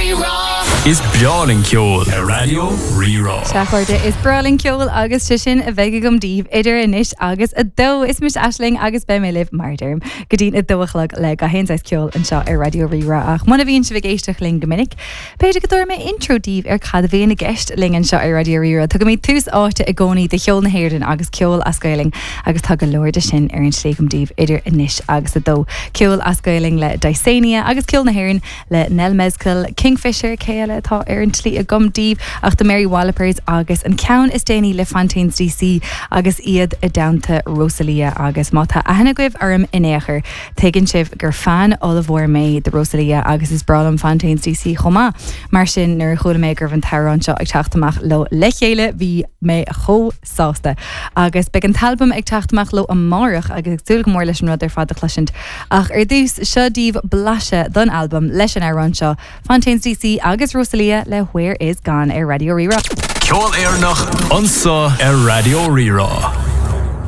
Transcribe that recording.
Rí-Rá. Is breá linn ceol ar Raidió Rí-Rá. Sea, a chairde, is breá linn ceol agus sé sin a bheidh agam daoibh idir anois agus 2. Is mise Aisling agus beidh mé libh, mar a deirim, go dtí'n 2 a chlog le gach aon saghas ceoil anseo ar Raidió Rí-Rá. Ach muna bhíonn sibh ag éisteacht linn go minic, B'fhéidir go dtabharfaidh mé intro daoibh ar cad a bhíonn i gceist linn anseo ar Raidió Rí-Rá. Tugaimid tús áite i gcónaí do cheol na hÉireann agus ceol as Gaelainn agus tá go leor de sin ar an tslí agam daoibh idir anois agus 2. Ceol as Gaelainn le Dysania agus ceol na hÉireann le Nell Mezcal, Kingfisher, cé eile atá ar an tslí agam daoibh ach The Mary Wallopers agus an ceann is déanaí le Fontaines DC agus iad i dteannta Rosalía agus má tá aithne agaibh orm in aon chor, Tuigeann sibh gur fan ollmhór mé de Rosalía agus is breá liom Fontaines DC chomh maith. Mar sin, nuair a chuala mé go raibh an t-amhrán seo ag teacht amach leo le chéile, bhí mé chomh sásta. Agus beidh an t-albam ag teacht amach leo amárach agus ag súil go mór leis an rud ar fad a chloisint. Ach ar dtús, seo daoibh blaiseadh don albam leis an amhrán seo, Fontaines DC agus Rosalía le Where Is Gone ar Raidió Rí-Rá. Ceol Éireannach anso ar Raidió Rí-Rá.